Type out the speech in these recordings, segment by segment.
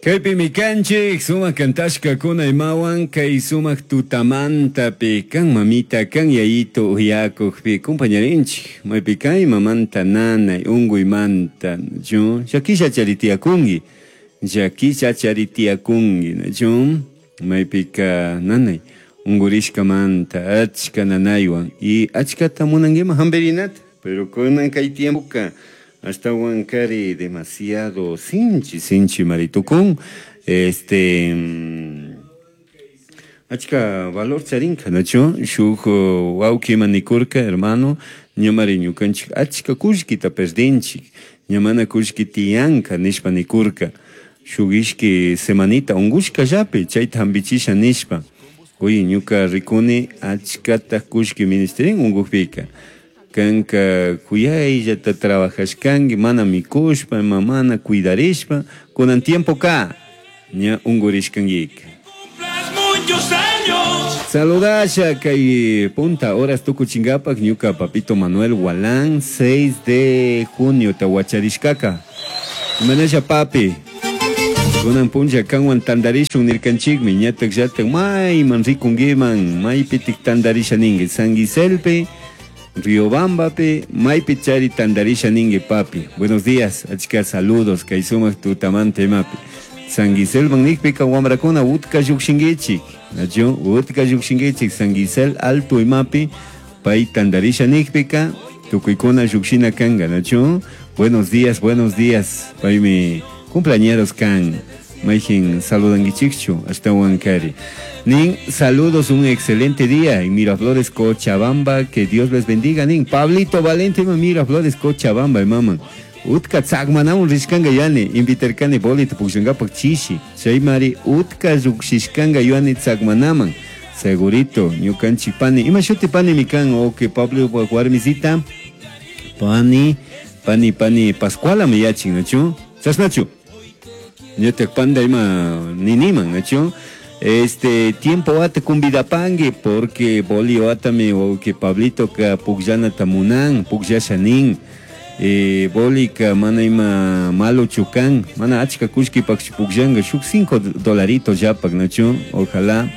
Kaypimi kanchik sumak kantashkakuna imawan kay sumak tutamantapi kan mamita kan yayito uyakukpi compañarinchik maypi kay mamanta nanay unkuymanta nachu llakisha charitiyakunki llakisha charitiyakunki nachu maypika nanay unkurishkamanta achka nanaywan y achkata munankiman hampirinata pero kunan kay tiempoka ashtawan kari demasiado sinchi sinchi maritukun este achka valor charinka nachu shuk wawqi nikurka hermano ñamari ñukanchik achka kullkita perdinchik ña mana kullki tiyanka nishpa nikurka shuk ishki semanita unkushkallapi chayta hampichisha nishpa uy ñuka rikuni achkata kullki ministerin unkukpika kanka kuyayllata trabajashkanki mana mikushpa ima mana cuidarishpa kunan tiempoka ña unkurishkankika. Muchos años. Saludasha kay punta horas tukuchinkapak ñuka papito Manuel Walán 6 de junio tawacharishkaka. Imanasha papi. Kunan punlla kanwan tandarishun nirkanchikmi ñatak llatak mayman rikunkiman maypitik tandarisha ninki San Giselpi Riobambapi maypi chari tandarisha ninki papi. Buenos días, achka saludos kay sumak tutamanta imapi. San Giselman nikpika wamrakuna utka llukshinkichik nachu utka llukshinkichik San Gisel alto imapi pay tandarisha nikpika tukuykuna llukshina kanka nachu. Buenos días, buenos días. Paymi cumpleañeros kan mayjin saludankichikchu ashtawan kari. Nin, saludos, un excelente día en Miraflores, Cochabamba, que Dios les bendiga. Nin, Pablito Valente, Miraflores, Cochabamba, mama. Utka tzakmanamun rishkanga yani, invitarkani bolita pukshankapak chishi. Chaymari utka llukshishkanga yuani tzakmanaman. Segurito, ñukanchik pani. Ima shuti pani mikan, ok, Pablo warmisita. Pani, pani, pani, Pascuala me yachin, nachu? Chasnachu? Ñatak panda ima niniman, nachu? Este tiempo ate kumbidapangi porque boli atami o que Pablito ka pukllana tamunan, pukllasha nin. Boli ka mana ima malo chukan, mana achka kushki pak pukllanga shuk 5 dolaritos yapak, nachu? Ojalá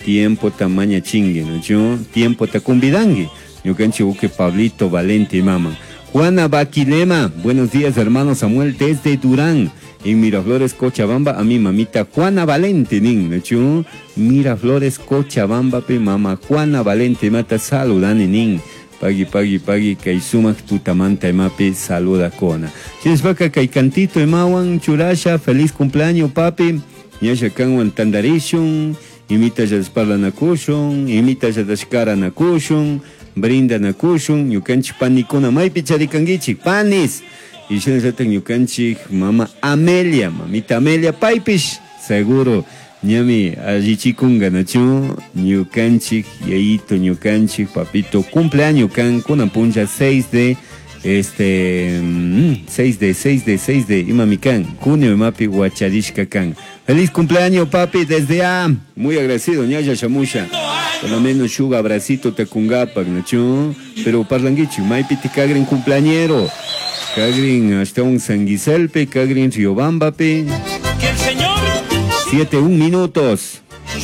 tiempo tamaña chingue, nachu? Tiempo ta kumbidangi. Ñukanchi uke Pablito Valente mama. Juana Baquilema, buenos días hermano Samuel desde Durán. En Miraflores, Cochabamba, a mi mamita Juana Valente, nin, nachu? Miraflores, Cochabamba, pe mama Juana Valente, mata saludani, nin. Pagui, pagui, pagui, kay sumak tutamanta emapi saluda kona. Chinspaka kay cantito emawan churasha, feliz cumpleaños papi. Ñasha kanwan tandarishun, imita yadasparlanakushun, imita yadashkaranakushun, brindanakushun, ñukanchik panikuna maypi charikankichik, panis. Y shinallata ñukanchik mama Amelia, mamita Amelia paypish, seguro ñami allichikunga nachu, ñukanchik yayito, ñukanchik papito, cumpleaños kan kunan puncha 6 de este 6 de 6 de 6 de imami kan, junio imapi huacharishka kan. Feliz cumpleaños papi desde A, muy agradecido ñaya shamusha. Por lo menos shuga abracito te kungapak nachu, pero parlanguichi maypi tikagrin cumpleañero. Kagrin hasta un San Giselpe, Kagrin Riobambape. Que el Señor 7, 1 minutos.